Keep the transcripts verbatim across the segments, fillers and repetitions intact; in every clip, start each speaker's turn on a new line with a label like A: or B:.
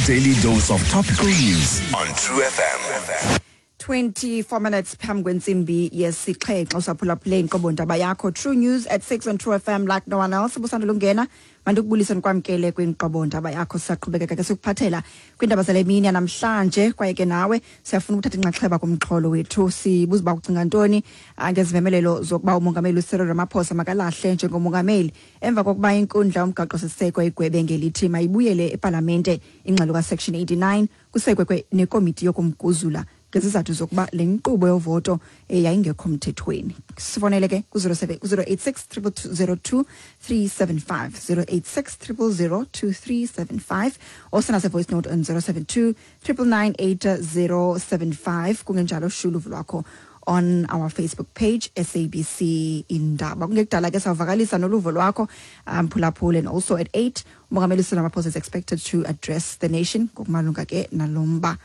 A: Daily dose of topical news on True F M.
B: twenty-four minutes phambi kwentsimbi yesixhenxe, usaphulaphule inkqubo ndaba yakho, True News at six on True F M, like no one else. Busandula ungena, mandikubulise, ndikwamkele kwinkqubo ndaba yakho. Sisaqhubekeka ke sikuphathela kwiindaba zale mini yanamhlanje, kwaye ke nawe siyafuna ukuthatha inxaxheba kumxholo wethu. Sibuza uba ucinga ntoni ah, ngezimemelelo zokuba umongameli uCyril Ramaphosa makalahle njengomongameli emva kokuba inkundla yomgaqo-siseko igwebe ngelithi mayibuyele epalamente ingxelo kaSection eighty-nine, kusekwe nekomiti yokumguzula ngezizathu zokuba le nkqubo yovoto eh, yayingekho mthethweni. Sifonele ke ku-zero eight six zero two three seven five, zero eight six zero zero two three seven five, osenase voice note on zero seven two nine nine nine eight zero seven five. Kungenjalo, shulu lwakho on our Facebook page, S A B C Indaba. Kungekudala ke sawuvakalisa noluvo lwakho, um phulaphula. And also at eight, umongameli Cyril Ramaphosa is expected to address the nation ngokumalunga ke nalomba.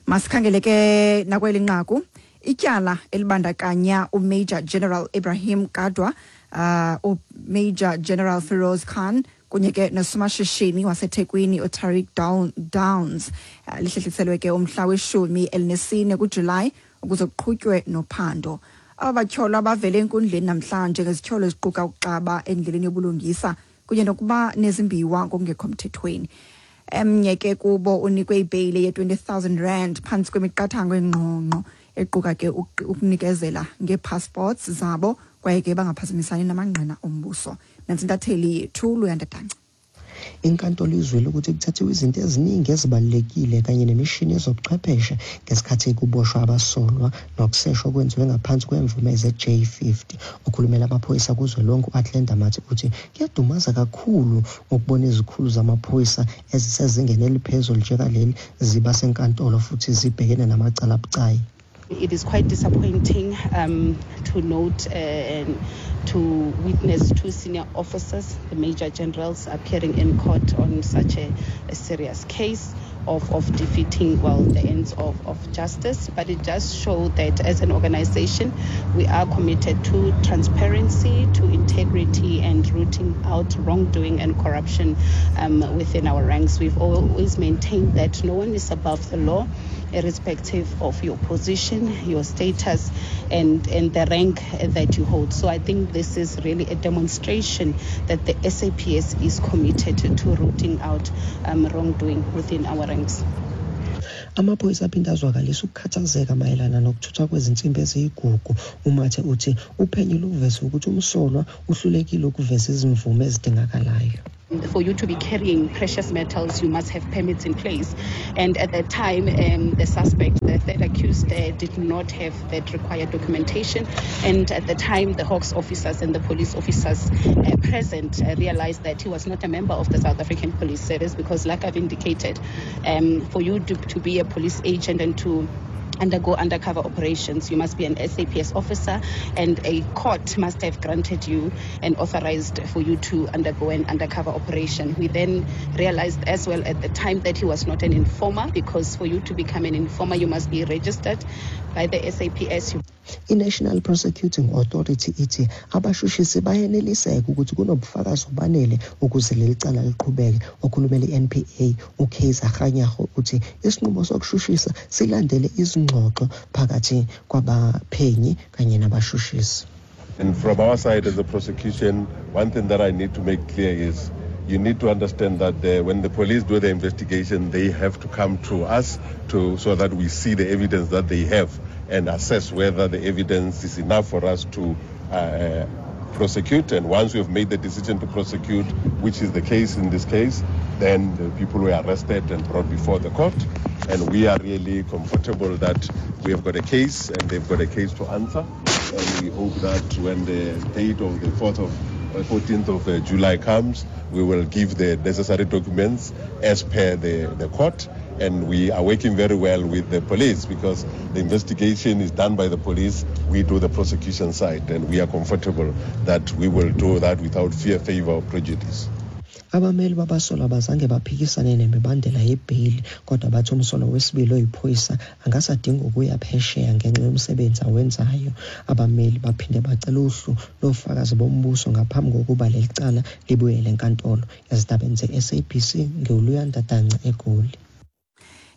B: Masikhangele ke nakweli nqaku, ityala elibandakanya uMajor General Ibrahim Kadwa, uh, uMajor General Feroz Khan kunye ke nosomashishini waseThekwini uTariq Downs uh, lihlehliselwe ke umhla weshumi elinesine kuJulayi ukuze kuqhutywe nophando. Aba batyholwa bavele enkundleni namhlanje ngezityholo eziquka ukuxaba endleleni yobulungisa kunye nokuba nezimbiwa ngokungekho mthethweni. Emnye ke kubo unikwe ibheyile ye-twenty thousand rand phantsi kwemiqathango engqongqo equka ke ukunikezela ngee-passports zabo kwaye ke bangaphazamisani namangqina ombuso. Nantsi intatheli yethu, Luyanda Danca.
C: Inkantolo izwile ukuthi kuthathiwe izinto eziningi ezibalulekile kanye nemishini yezobuchwepheshe ngesikhathi kuboshwa abasolwa nokuseshwa kwenziwe ngaphansi kwemvume ze-J fifty. Okhulumela amaphoyisa kuzwelonke u-Athlenda Mathe uthi kuyadumaza kakhulu ukubona izikhulu zamaphoyisa ezisezingeni eliphezulu njengaleli ziba senkantolo futhi zibhekene namacala abucayi.
D: It is quite disappointing um, to note uh, and to witness two senior officers, the major generals, appearing in court on such a, a serious case of, of defeating, well, the ends of, of justice. But it does show that as an organization, we are committed to transparency, to integrity, and rooting out wrongdoing and corruption um, within our ranks. We've always maintained that no one is above the law, irrespective of your position, your status, and, and the rank that you hold. So I think this is really a demonstration that the S A P S is committed to rooting out um, wrongdoing within our ranks.
C: Amaphoyisa aphinde azwakalisa ukukhathazeka mayelana nokuthuthwa kwezinsimbi eziyigugu. UMathe uthi uphenyo luveze ukuthi umsolwa uhlulekile ukuveza izimvume ezidingakalayo.
D: For you to be carrying precious metals, you must have permits in place. And at that time, um, the suspect, the third accused, uh, did not have that required documentation. And at the time, the Hawks officers and the police officers uh, present uh, realized that he was not a member of the South African Police Service because, like I've indicated, um, for you to, to be a police agent and to undergo undercover operations, you must be an S A P S officer, and a court must have granted you and authorized for you to undergo an undercover operation. We then realized as well at the time that he was not an informer, because for you to become an informer, you must be registered by the S A P S.
C: I-National Prosecuting Authority ithi abashushisi bayeneliseka ukuthi kunobufakazi obanele ukuze leli cala liqhubeke. Okhulumela i-N P A uKaiser Kganyago uthi isinqumo sokushushisa silandele izingxoxo phakathi kwabaphenyi kanye nabashushisi.
E: And from our side as a prosecution, one thing that I need to make clear is you need to understand that the, when the police do the investigation, they have to come to us to, so that we see the evidence that they have and assess whether the evidence is enough for us to uh, prosecute. And once we have made the decision to prosecute, which is the case in this case, then the people were arrested and brought before the court. And we are really comfortable that we have got a case and they've got a case to answer. And we hope that when the date of the fourth of fourteenth of uh, July comes, we will give the necessary documents as per the, the court. And we are working very well with the police because the investigation is done by the police. We do the prosecution side, and we are comfortable that we will do that without fear, favor, or prejudice.
C: Abameli babasolwa abazange baphikisane nemibandela yebheyili, kodwa bathi umsolwa wesibili oyiphoyisa angasadinga ukuya phesheya ngenxa yomsebenzi awenzayo. Abameli baphinde bacela uhlu lofakazi bombuso ngaphambi kokuba leli cala libuyele enkantolo. Ezindabeni ze-S A B C, ngiwuLuyanda Danca eGoli.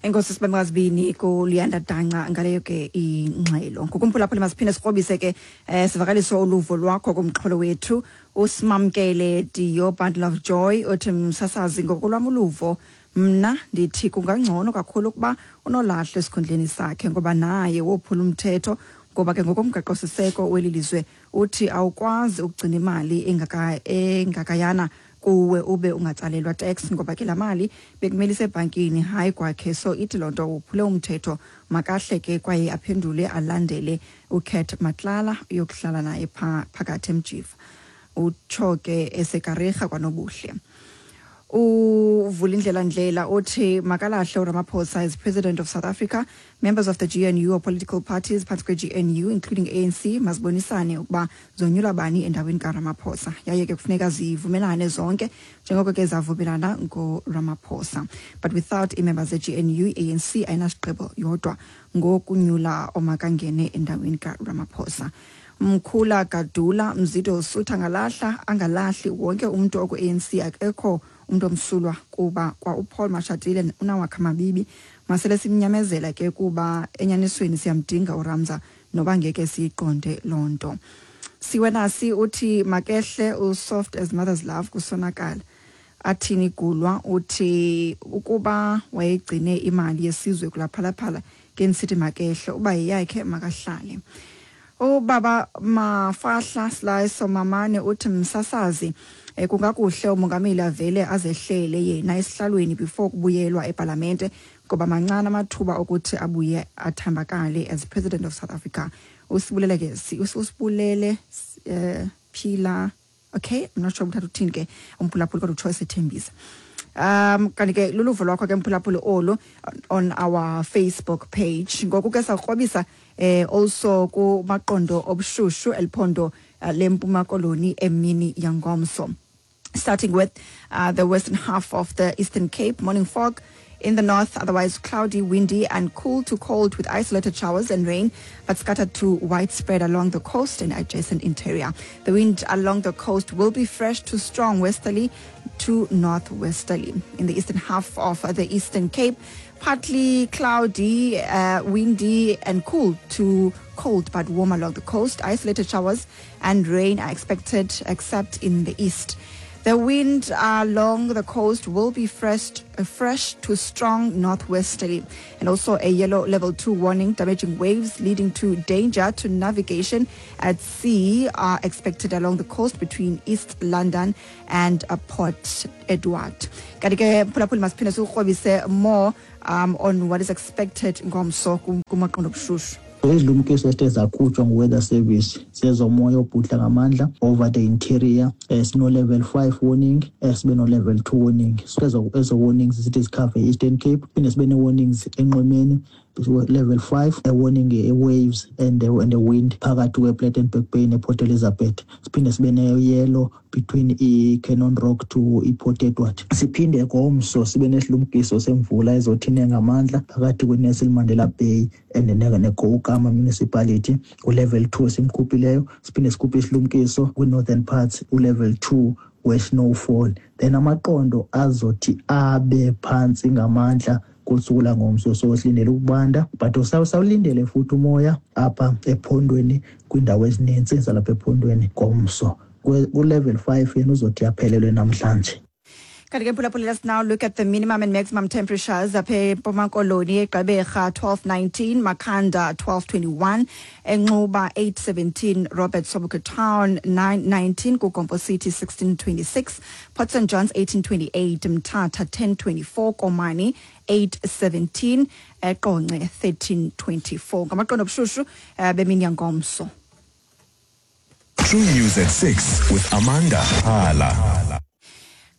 B: Enkosi Sibamkazibini kuLuyanda Danca ngaleyo ke ingxelo. Ngokumphulaphula masiphinde sikrobise ke eh, sivakalise uluvo lwakho kumxholo wethu. Usimamkele Diyo Bundle of Joy uthi, msasazi, ngokolwam uluvo mna ndithi kungangcono kakhulu ukuba unolahle esikhundleni sakhe, ngoba naye wophula umthetho, ngoba ke ngokomgaqo-siseko weli lizwe uthi awukwazi ukugcina imali engaka engakayana kuwe ube ungatsalelwa tax, ngoba ke laa mali bekumele isebhankini hayi kwakhe. So ithi loo nto uphule umthetho, makahle ke kwaye aphendule alandele uCat Matlala uyokuhlala naye pha phakathi emjiva, utsho ke esekarerha kwanobuhle. Uvulindlela Ndlela uthi makalahle uRamaphosa as president of South Africa. Members of the G N U or political parties phantsi kwe-G N U including A N C mazibonisane ukuba zonyula bani endaweni kaRamaphosa, yaye ke kufuneka zivumelane zonke njengoko ke zavumelana ngoRamaphosa. But without ii-members ze-G N U, i-A N C ayinasigqibo yodwa ngokunyula omakangene endaweni kaRamaphosa. Mkhula Gadula Mzido Sutha ngalahla angalahli wonke umuntu oku-A N C, akekho umuntu omsulwa kuba kwa uPaul Mashatile unawakhe amabibi. Masele simnyamezela ke kuba enyanisweni siyamdinga uRamza noba ngeke siyiqonde loo nto. Siwenasi uthi makehle usoft as mother's love kusonakala. Athini Gulwa uthi ukuba wayegcine imali yesizwe kulaphalaphala ke nisithi makehle, uba yeyakhe makahlale. Ubaba Mafahla Slice Mamane uthi msasazi eh, kungakuhle umongameli avele azehlele yena esihlalweni before kubuyelwa eParlamente, ngoba mancane amathuba okuthi abuye athambakale as president of South Africa. Usibulele ke usibulele eh, Phila, okay, I'm not sure uthatha uthini ke umphulaphuli, kodwa utsho esethembisa. Um kanti ke luluvo lwakho ke mphulaphuli olu on our Facebook page. Ngoku ke sawukrobisa eh also kumaqondo obushushu eliphondo uh, lempuma koloni emini yangomso. Starting with uh, the western half of the Eastern Cape, morning fog in the north, otherwise cloudy, windy and cool to cold with isolated showers and rain, but scattered to widespread along the coast and adjacent interior. The wind along the coast will be fresh to strong westerly to northwesterly. In the eastern half of the Eastern Cape, partly cloudy, uh, windy and cool to cold but warm along the coast. Isolated showers and rain are expected except in the east. The wind along the coast will be fresh, uh, fresh to strong northwesterly, and also a yellow level two warning, damaging waves leading to danger to navigation at sea are expected along the coast between East London and uh, Port Edward. Kanti ke mphulaphuli masiphinde sikurhobise more um, on what is expected ngomso kumaqondo obushushu.
F: Izilumkiso esithe zakhutshwa ngu-Weather Service zezomoya obhudla ngamandla over the interior, eh, sino level five warning, eh, sibe no level two warning. So ezo ezo warnings zithi zikhave Eastern Cape, phinde sibe ne-warnings enqwemeni level five, a warning eh, waves and the, and the wind phakathi kwe-Plettenberg Bay ne-Port Elizabeth. Siphinde sibe ne-yellow between i-Cannon Rock to i-Port Edward. Siphinde ngomso sibe nesilumkiso semvula ezothine ngamandla phakathi kwe-Nelson Mandela Bay and ne-Koukamma Municipality u-level two simkhuphileyo. Siphinde sikhuphe isilumkiso kwi-northern parts u-level two we-snowfall. Then amaqondo azothi abe phantsi ngamandla kusuku langomso, so silindele ukubanda, but sawulindele futhi umoya apha ephondweni kwiindawo ezininzi zalapha ephondweni ngomso. Ku-level five yena uzothi aphelelwe namhlanje.
B: Kanti ke mphulaphuli, let's now look at the minimum and maximum temperatures apha eMpuma Koloni. eGqeberha twelve nineteen, Makhanda twelve twenty-one, eNxuba eight seventeen, Robert Sobukwe Town nine nineteen, KuGompo City sixteen twenty-six, Port Saint Johns eighteen twenty-eight, Mthatha ten twenty-four, Komani eight seventeen, eQonce thirteen twenty-four. Ngamaqondo obushushu bemini yangomso.
A: True News at six with Amanda Hala.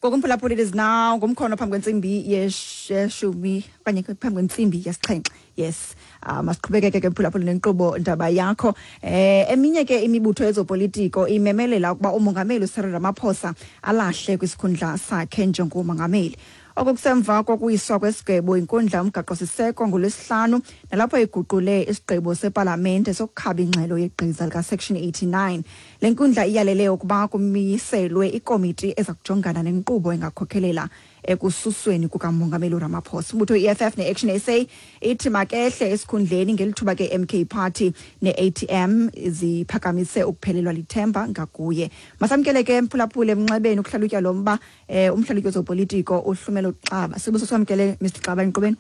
B: Ngokumphulaphula, it is now ngumkhono phambi kwentsimbi yeshumi okanye phambi kwentsimbi yesixhenxe. Yes, uh, masiqhubekeke ke mphulaphula nenkqubo Ndaba Yakho. Eh eminye ke imibutho yezopolitiko imemelela ukuba umongameli uCyril Ramaphosa alahle kwisikhundla sakhe njengomongameli. Okukusemva kokuyiswa kwesigwebo inkundla umgaqo-siseko ngolwesihlanu, nalapho iguqule isigqibo sepalamente sokukhaba ingxelo yegqiza lika-section eighty-nine. Le nkundla iyalele ukuba kumiselwe ikomiti eza kujongana nenkqubo engakhokhelela ekususweni kukamongameli uRamaphosa. Umbutho i-E F F ne-Action S A ithi makehle esikhundleni, ngelithuba ke M K Party ne-A T M ziphakamise ukuphelelwa lithemba ngakuye. Masamkele ke mphulaphule emnxebeni ukuhlalutya lo mba, eh, umhlalutyi wezopolitiko uHlumelo Xaba. Sibuso samkele Mister Xaba enkqubeni.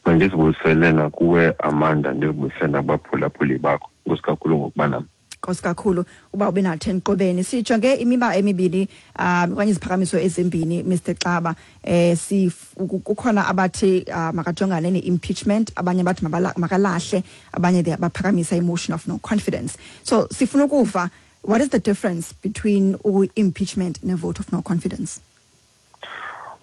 G: Mandizibuyisele nakuwe Amanda, ndizibuyisele nakubaphulaphuli bakho. Enkosi kakhulu ngokuba nam.
B: Nkosi kakhulu uba ube nathi enkqubeni. Sijonge imiba emibini um okanye iziphakamiso ezimbini Mister Xaba. Eh si kukhona abathi uh, makajongane ne-impeachment, abanye bathi makalahle, abanye baphakamisa i-motion of no confidence. So sifuna ukuva, what is the difference between impeachment and a vote of no confidence?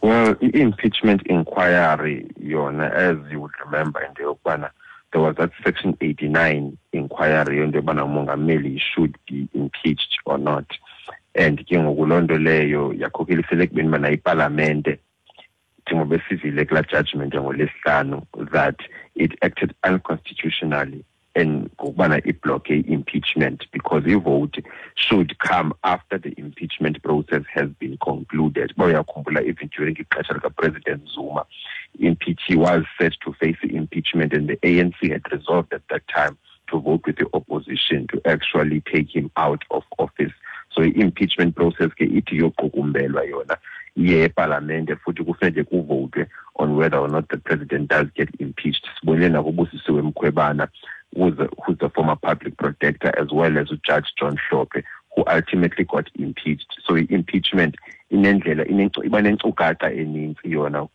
G: Well, i-impeachment inquiry yona, as you would remember, in the yokubana there was that section eighty-nine inquiry into yobana umongameli should be impeached or not. And ke ngoku loo nto leyo yakhokhelisela ekubeni bana ipalamente, njengoba sivile kulaa judgment ngolwesihlanu, that it acted unconstitutionally and ngokubana ibloke i-impeachment, because i-vote should come after the impeachment process has been concluded. Uba uyakhumbula, even during ixesha likaPresident Zuma, impeach was set to face the impeachment, and the A N C had resolved at that time to vote with the opposition to actually take him out of office. So the impeachment process ke ithi yoqukumbelwa yona iye epalamente, futhi kufuneke kuvotwe on whether or not the president does get impeached. Sibonile nakuBusisiwe Mkhwebane, who's the, who's the former public protector, as well as Judge John Hlophe, who ultimately got impeached. So impeachment inendlela iba nenkcukacha eninzi yona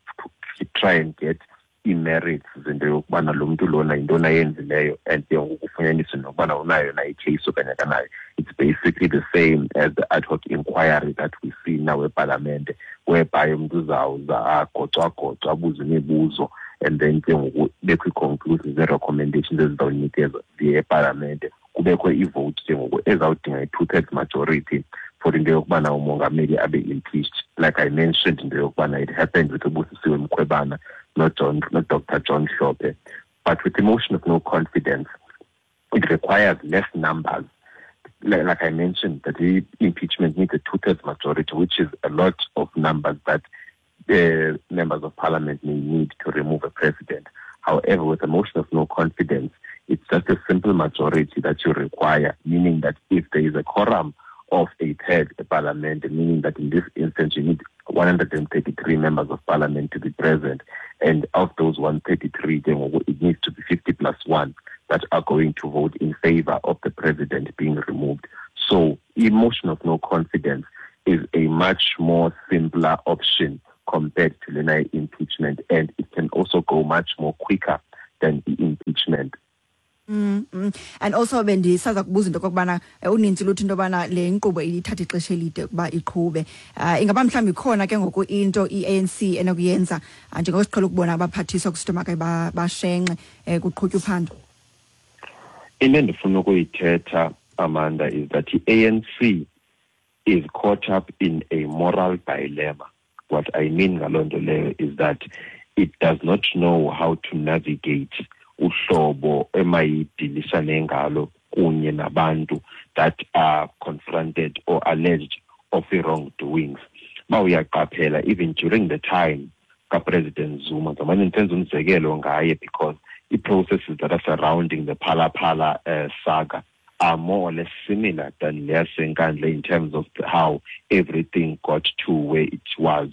G: to try and get i-merits zento yokubana lo mntu lona yintoni ayenzileyo, and ke ngoku kufunyaniswe nokubana unayo na i-case okanye akanayo. It's basically the same as the ad hoc inquiry that we see now epalamente, whereby umntu uzawuza agocwagocwa abuze imibuzo, and then ke ngoku kubekho ii-conclusions nee-recommendations ezizawunikezwa ziye epalamente, kubekho i-vote ke ngoku ezawudinga i-two-thirds majority for into yokubana umongameli abe impeached. Like I mentioned, into yokubana it happened with uBusisiwe Mkhwebane, not John, not Doctor John Hlophe. But with the motion of no confidence, it requires less numbers. Like, like I mentioned, that the impeachment needs a two-thirds majority, which is a lot of numbers that the members of parliament may need to remove a president. However, with a motion of no confidence, it's just a simple majority that you require, meaning that if there is a quorum of a third parliament, meaning that in this instance you need one hundred thirty-three members of parliament to be present, and of those one hundred thirty-three, then it needs to be fifty plus one that are going to vote in favor of the president being removed. So a motion of no confidence is a much more simpler option compared to the impeachment, and it can also go much more quicker than the impeachment.
B: Mm, mm. And also bendisaza kubuza into okokubana uninzi luthi into yobana le nkqubo ithatha ixesha elide ukuba iqhube. Uh, ingaba mhlawumbi ikhona ke ngoku into i-A N C enokuyenza njengoko siqhele ukubona abaphathiswa kusithiwa make bashenxe um kuqhutywa uphando?
G: Into endifuna ukuyithetha, Amanda, is that the A N C is caught up in a moral dilemma. What I mean ngaloo nto leyo is that it does not know how to navigate uhlobo emayidilisane ngalo kunye nabantu that are confronted or alleged of wrongdoings. Ba uyaqaphela, even during the time kaPresident Zuma, ngamane ndenza umzekelo ngaye because the processes that are surrounding the Phala Phala uh, saga are more or less similar than leyaseNkandla in terms of how everything got to where it was.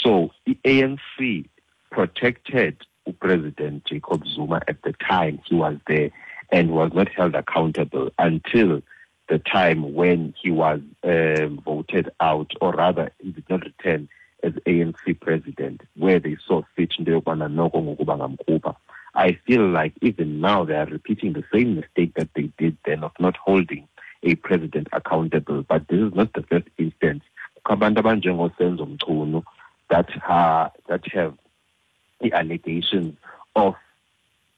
G: So the A N C protected President Jacob Zuma at the time he was there and was not held accountable until the time when he was um, voted out, or rather he did not return as A N C president, where they saw fit. I feel like even now they are repeating the same mistake that they did then of not holding a president accountable. But this is not the first instance. Abantu abanjengoSenzo Mchunu that ha, that have the allegations of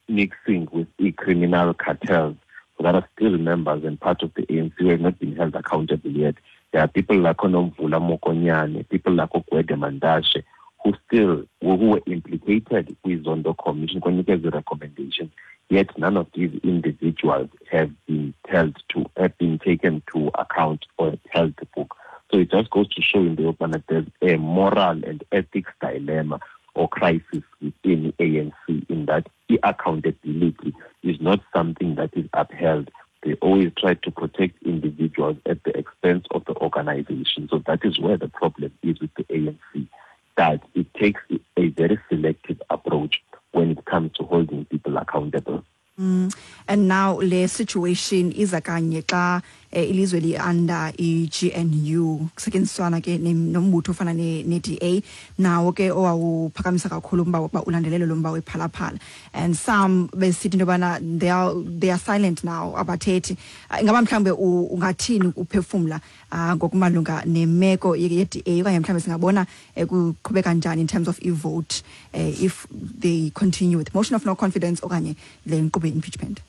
G: mixing with the criminal cartels that are still members and part of the A N C who have not been held accountable yet. There are people like Nomvula Mokonyane, people like Gwede Mantashe, who still who were implicated with Zondo Commission, the recommendations. Yet none of these individuals have been held to have been taken to account or held to book. So it just goes to show in the open that there's a moral and ethics dilemma or crisis within the A N C, in that the accountability is not something that is upheld. They always try to protect individuals at the expense of the organization. So that is where the problem is with the A N C, that it takes a very selective approach when it comes to holding people accountable.
B: Mm. And now le situation iza kanye xa ilizwe li under i-G N U kusetyenziswana ke nombutho ofana ne-D A nawo ke owawuphakamisa kakhulu umba wokuba ulandelelo lo mba wePhalaphala, and some besithi into yobana they are, they are silent now, abathethi. Ingaba mhlawumbe ungathini uphefumla ngokumalunga nemeko ye-D A, okanye mhlawumbe singabona kuqhubeka njani in terms of i-vote if they continue with motion of no confidence okanye le nkqubo impeachment?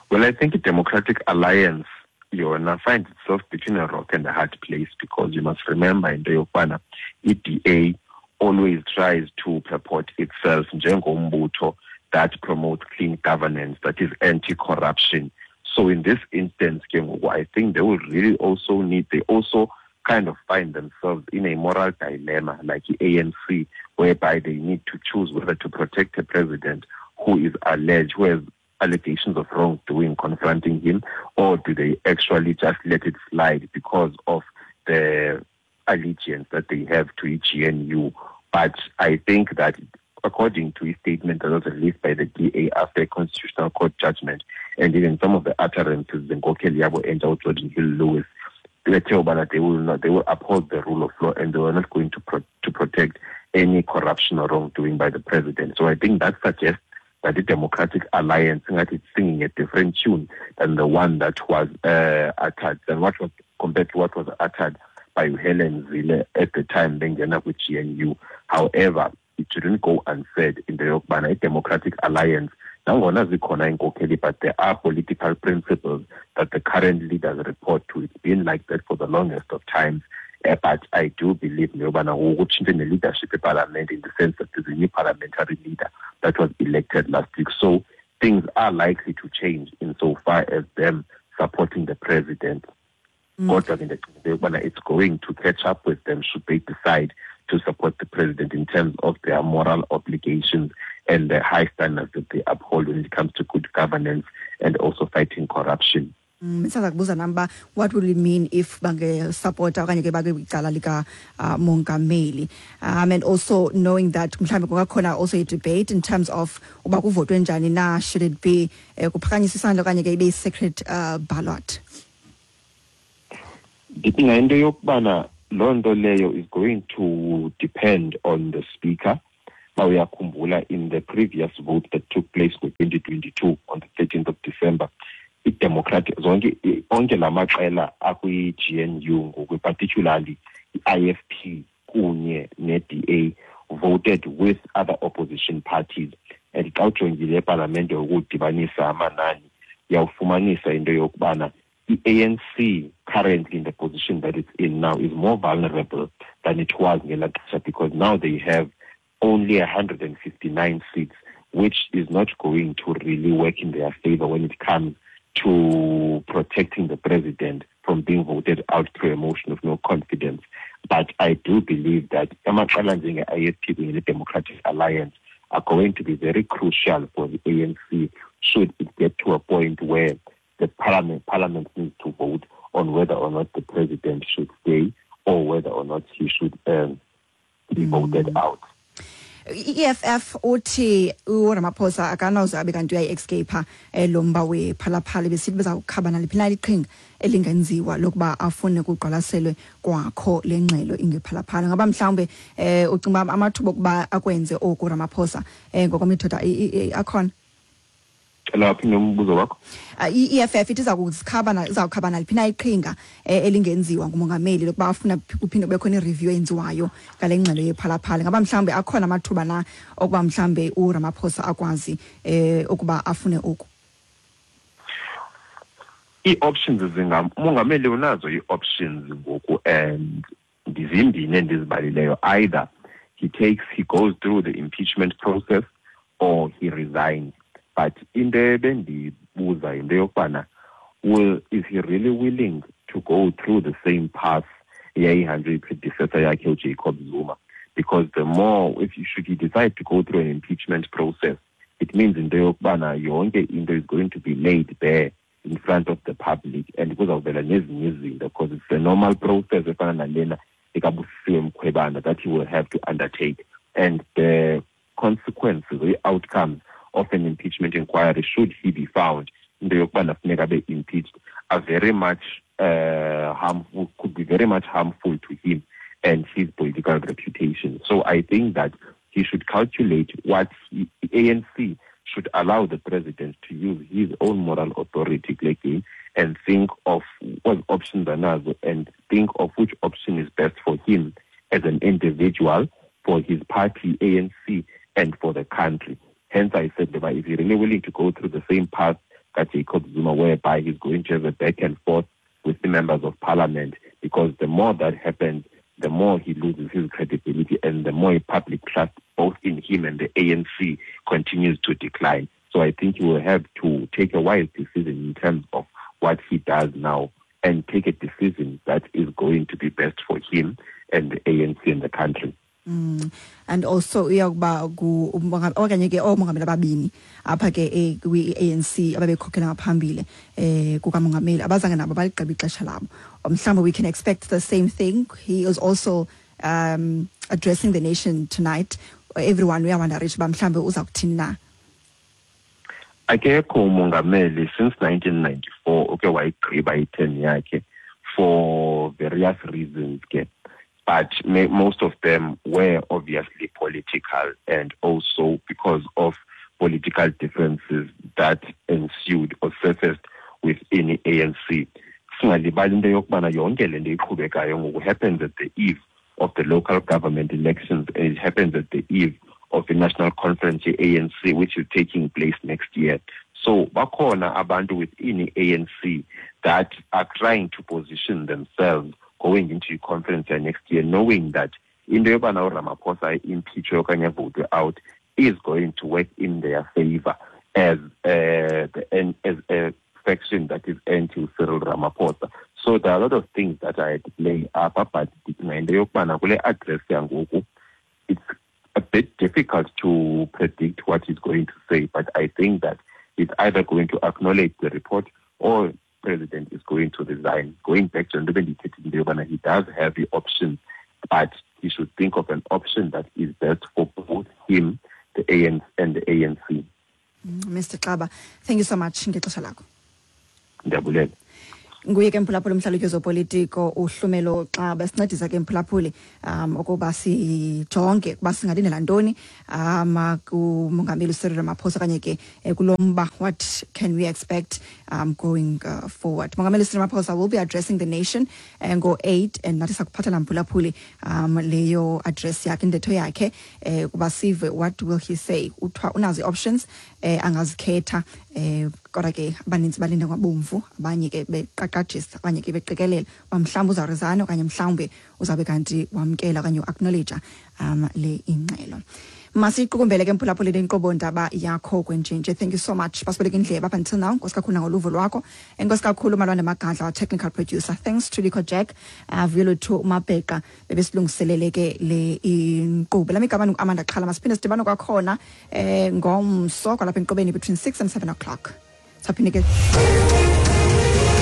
G: Well, I think the Democratic Alliance, yona, finds itself between a rock and a hard place, because you must remember in the yokubana, I D A always tries to purport itself njengombutho that promotes clean governance, that is anti-corruption. So in this instance, I think they will really also need, they also kind of find themselves in a moral dilemma like the A N C, whereby they need to choose whether to protect a president who is alleged, who has allegations of wrongdoing confronting him, or do they actually just let it slide because of the allegiance that they have to G N U? But I think that according to a statement that was released by the D A after a Constitutional Court judgment, and even some of the utterances, Nkokheli yabo entsha Geordin Hill-Lewis, they will not, they will uphold the rule of law, and they were not going to pro- to protect any corruption or wrongdoing by the president. So I think that suggests that the Democratic Alliance, that it's singing a different tune than the one that was uh, uttered, than what was compared to what was uttered by Helen Zille at the time bengena with G N U. However, it shouldn't go unsaid in the yokubana Democratic Alliance, nangona zikhona iinkokheli, but there are political principles that the current leaders report to. It's been like that for the longest of times. Uh, but I do believe neyobana ngoku the leadership of parliament, in the sense that there's a new parliamentary leader that was elected last week. So things are likely to change insofar as them supporting the president. Mm. It's going to catch up with them should they decide to support the president in terms of their moral obligations and the high standards that they uphold when it comes to good governance and also fighting corruption.
B: Msaza kubuza namba, what would it mean if bange support okanye ke bake kwicala lika uh, mongameli, um, and also knowing that mhlambe kungakhona also a debate in terms of uba kuvotwe njani na, should it be eh, kuphakanyiswa isandla okanye ke ibe secret uh, ballot?
G: Ndicinga into yokubana loo nto leyo is going to depend on the speaker. Uyakhumbula in the previous vote that took place in twenty twenty-two on the thirteenth of December, i-Democratic zonke onke lamaqela akwi-G N U ngoku, particularly i-I F P kunye ne-D A, voted with other opposition parties. And xa ujongile epalamente ukudibanisa amanani, uyawufumanisa into yokubana i-A N C currently in the position that it's in now is more vulnerable than it was ngelaa xesha, because now they have only one hundred fifty-nine seats, which is not going to really work in their favor when it comes to protecting the president from being voted out through a motion of no confidence. But I do believe that amaqela njenge-I F P kunye ne-Democratic Alliance are going to be very crucial for the A N C should it get to a point where the parliament, parliament needs to vote on whether or not the president should stay or whether or not he should um, be voted mm. out.
B: I E F F uthi uRamaphosa akanazo abe kanti uyayi-escape lo mba wePhalaphala, besithi bezawukhaba naliphi na iqhinga elingenziwa lokuba afune kuqwalaselwe kwakho le ngxelo ingePhalaphala. Ngaba mhlawumbe um ucinga uba amathuba okuba akwenze oku Ramaphosa um ngokomthetho akhona?
G: Cela uphinde umbuzo wakho.
B: I-E F F ithi iza kuzikhaba, izawukhaba naliphi na iqhinga elingenziwa ngumongameli lokuba afuna kuphinde kube khona i-review eyenziwayo ngale ngxelo yePhalaphala. Ngaba mhlawumbe akhona amathuba na okuba mhlawumbe uRamaphosa akwazi eh ukuba afune oku?
G: Ii-options zingam, umongameli unazo ii-options ngoku, and ndizimbini endizibalileyo. Either he takes he goes through the impeachment process or he resigns. But into ebendibuza yinto yokubana, will is he really willing to go through the same path eyayihanjwe i-predecessor yakhe uJacob Zuma? Because the more if you should he decide to go through an impeachment process, it means into yokubana yonke into is going to be laid bare in front of the public, and kuzawuvela nezinye izinto, because it's a normal process efana nalena ekaBusisiwe Mkhwebane that he will have to undertake. And the consequences, the outcomes of an impeachment inquiry, should he be found into yokubana funeka abe impeached, are very much uh, harmful, could be very much harmful to him and his political reputation. So I think that he should calculate what he, the A N C should allow the president to use his own moral authority kule and think of what options are nazo and think of which option is best for him as an individual, for his party, A N C, and for the country. Hence, I said that if he's really willing to go through the same path that Jacob Zuma, whereby he's going to have a back and forth with the members of parliament, because the more that happens, the more he loses his credibility and the more public trust both in him and the A N C continues to decline. So I think he will have to take a wise decision in terms of what he does now and take a decision that is going to be best for him and the A N C and the country.
B: Mm. And also uyakuba okanye ke oomongameli ababini apha ke eh, kwi-A N C ababekhokhela ngaphambili eh kukamongameli abazange nabo baligqiba ixesha labo. Mhlawumbe we can expect the same thing. He is also um, addressing the nation tonight. Everyone uyawonderisha uba mhlawumbe uza kuthini na.
G: Akekho umongameli since nineteen ninety-four oke wayigqiba i-term yakhe, for various reasons ke, but most of them were obviously political and also because of political differences that ensued or surfaced within the A N C. Singalibali into yokubana yonke le nto iqhubekayo ngoku happens at the eve of the local government elections, and it happens at the eve of the national conference ye-A N C, which is taking place next year. So bakhona abantu within the A N C that are trying to position themselves going into the conference next year, knowing that into yobana uRamaphosa impeachwe okanye avotwe out is going to work in their favor as uh, the, as a faction that is anti Cyril Ramaphosa. So there are a lot of things that are at play apha, but ndicinga into yokubana kule address yangoku, it's a bit difficult to predict what he's going to say, but I think that he's either going to acknowledge the report or president is going to resign. Going back to into bendiyithethile, into yobana he does have the option, but he should think of an option that is best for both him, the A N C and the A N C.
B: Mister Xaba, thank you so much ngexesha lakho.
G: Ndiyabulela.
B: Nguye ke, mphulaphuli, umhlalutyi wezopolitiko uHlumelo Xaba, sincedisa ke, mphulaphuli, um ukuba sijonge ukuba singalindela ntoni um kumongameli uCyril Ramaphosa okanye ke eh, kulo mba. What can we expect um going uh, forward? Mongameli Cyril Ramaphosa will be addressing the nation uh, ngo-eight, and nathi sakuphathela, mphulaphuli, um leyo address yakhe, intetho yakhe, eh kuba sive what will he say. Uthiwa unazo ii-options eh angazikhetha, eh kodwa ke abaninzi balinde ngabomvu, abanye ke beqaqajisa, abanye ke beqikelela uba mhlawumbi uzawuresigna okanye mhlawumbi uzawube kanti wamkela okanye uacknowledge um le ingxelo. Masiyiqukumbele ke, mphulaphuli, le nkqubo ndaba yakho kwenjenje. Thank you so much basibeleka indlebe up until now. Nkosi kakhulu nangoluvo lwakho. Enkosi kakhulu Malwande Magadla, our technical producer. Thanks to Lico Jack, uh, Vuyolwethu Mabheqa, bebesilungiselele ke le inkqubo. Lami igama ngu-Amanda Xhala. Masiphinde sidibane kwakhona eh ngomso kwalapha enkqubeni between six and seven o'clock. Saphinde ke.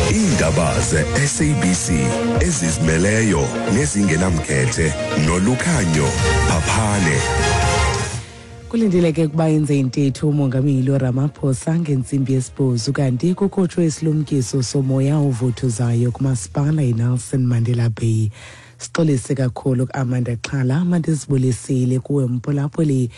A: Iindaba ze-S A B C ezizimeleyo nezingenamkhethe noLukhanyo Phaphane.
H: Kulindeleke ukuba yenze intetho umongameli Ramaphosa ngentsimbi yesibhozo, kanti kukhutshwe isilumkiso somoya ovuthuzayo kumasipala iNelson Mandela Bay. Sixolise kakhulu ku-Amanda Xhala. Mandizibulisile kuwe, mphulaphuli.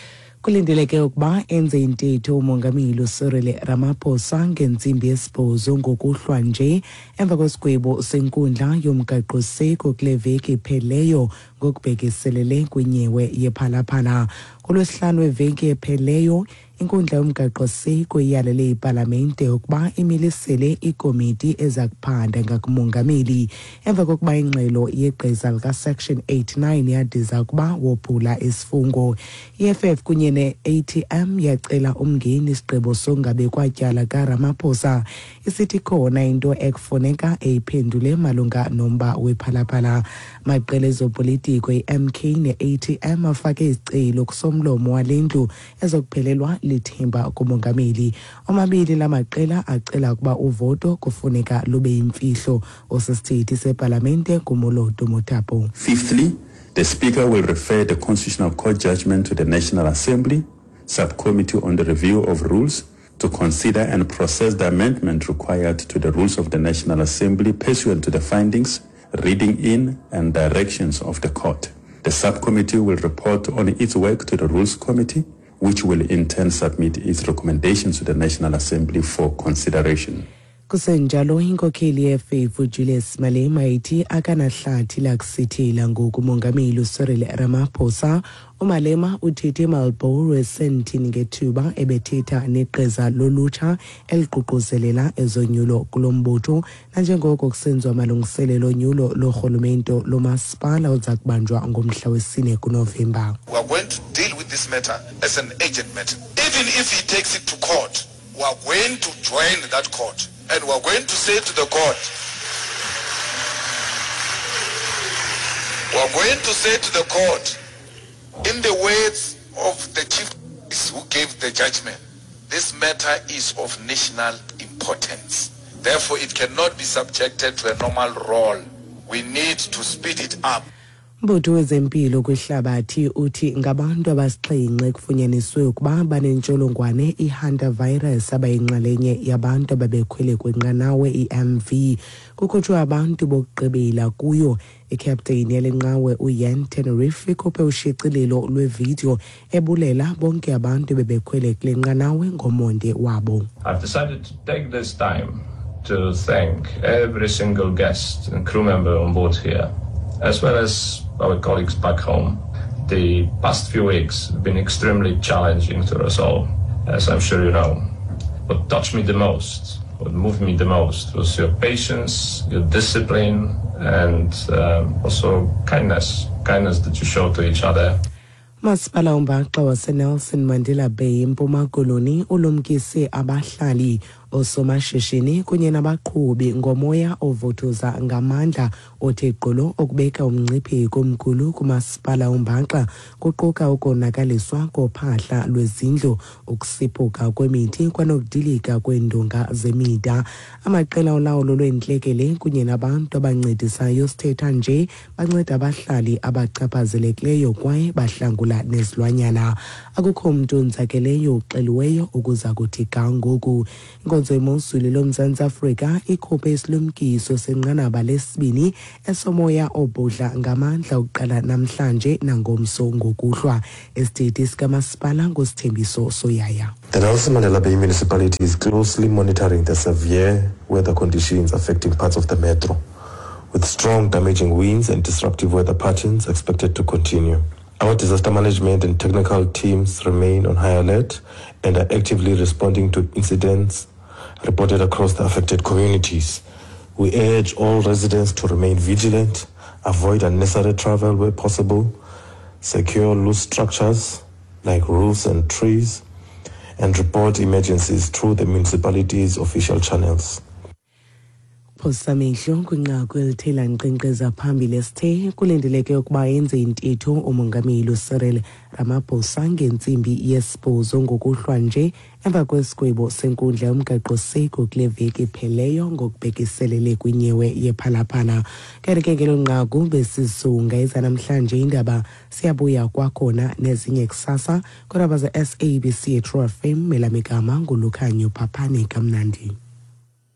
H: Kulindeleke ukuba enze intetho umongameli Cyril Ramaphosa ngentsimbi yesibhozo ngokuhlwa nje emva kwesigwebo senkundla yomgaqoseko kule veki ipheleyo ngokubhekiselele kwinyewe yePhalaphala. Kulwesihlanu weveki epheleyo, inkundla yomgaqoseko iyalele ipalamente ukuba imilisele ikomiti eza kuphanda ngakumongameli emva kokuba ingxelo yegqiza lika-Section eighty-nine yadiza ukuba wophula isifungo. I E F F kunye ne-A T M yacela umngeni isigqibo sokungabekwa tyala kaRamaphosa, isithi khona into ekufuneka eyiphendule malunga nomba wePhalaphala. Amaqela ezopolitiko i-M K ne-A T M afake izicelo kusomlomo wale ndlu ezokuphelelwa lithemba kumongameli. Omabili la maqela acela ukuba uvoto kufuneka lube yimfihlo. Osisithethi sepalamente nguMoloto Mothapo.
I: Fifthly, the Speaker will refer the Constitutional Court judgment to the National Assembly Subcommittee on the Review of Rules to consider and process the amendment required to the rules of the National Assembly pursuant to the findings, reading in and directions of the court. The subcommittee will report on its work to the Rules Committee, which will in turn submit its recommendations to the National Assembly for consideration.
H: Kusenjalo, inkokheli ye-F F uJulius Malema ithi akanahlathi lakusithela ngoku umongameli Cyril Ramaphosa. UMalema uthethe eMarlborough eSandton ngethuba ebethetha neqeza lolutsha eliququzelela ezonyulo kulo mbutho, nanjengoko kusenziwa amalungiselelo onyulo lorhulumento lomasipala oza kubanjwa ngomhla wesine kuNovemba.
J: We are going to deal with this matter as an urgent matter. Even if he takes it to court, we are going to join that court. And we are going to say to the court, we are going to say to the court, in the words of the chief who gave the judgment, this matter is of national importance. Therefore, it cannot be subjected to a normal role. We need to speed it up.
H: Umbutho wezempilo kwihlabathi uthi ngabantu abasixhenxe kufunyaniswe ukuba banentsholongwane i-hantavirus abayinxalenye yabantu ababekhwele kwinqanawe i-M V. Kukhutshwe abantu bokugqibela kuyo. Ikapteni yale nqawe uYan Tenerife ikhuphe ushicilelo lwevidiyo ebulela bonke abantu bebekhwele kule nqanawe ngomonde wabo.
K: I've decided to take this time to thank every single guest and crew member on board here, as well as our colleagues back home. The past few weeks have been extremely challenging to us all, as I'm sure you know. What touched me the most, what moved me the most, was your patience, your discipline, and um, also kindness, kindness that you show to each other.
H: Masipala umbaxa waseNelson Mandela Bay eMpuma Koloni ulumkise abahlali, osomashishini kunye nabaqhubi ngomoya ovuthuza ngamandla othe gqolo okubeka umngcipheko omkhulu kumasipala umbaxa, kuquka ukonakaliswa kophahla lwezindlu, ukusiphuka kwemithi kwanokudilika kweendonga zemida. Amaqela olawulo lweentlekele kunye nabantu abancedisayo sithetha nje banceda abahlali abachaphazelekileyo kwaye bahlangula nezilwanyana. Akukho mntu onzakeleyo uxeliweyo ukuza kuthi ga ngoku. Inkonzo yemozulu loMzantsi Afrika ikhuphe isilumkiso senqanaba lesibini esomoya obhudla ngamandla ukuqala namhlanje nangomso ngokuhlwa. Isithethi sikamasipala nguSithembiso Soyaya.
L: The Nelson Mandela Bay Municipality is closely monitoring the severe weather conditions affecting parts of the metro, with strong damaging winds and disruptive weather patterns expected to continue. Our disaster management and technical teams remain on high alert and are actively responding to incidents reported across the affected communities. We urge all residents to remain vigilant, avoid unnecessary travel where possible, secure loose structures like roofs and trees, and report emergencies through the municipality's official channels.
H: Phosamehlo kwinqaku elithe lankqenkqeza phambili esithe kulindeleke ukuba yenze intetho umongameli Cyril Ramaphosa ngentsimbi yesibhozo ngokuhlwa nje emva kwesigwebo senkundla yomgaqoseko kule veki ipheleyo ngokubhekiselele kwinyewe yePhalaphala. Kanti ke ngelo nqaku besisunga ezanamhlanje indaba, siyabuya kwakhona nezinye kusasa kodwa ze S A B C True F M. Melamigama nguLukhanyo Phaphane. Kamnandi.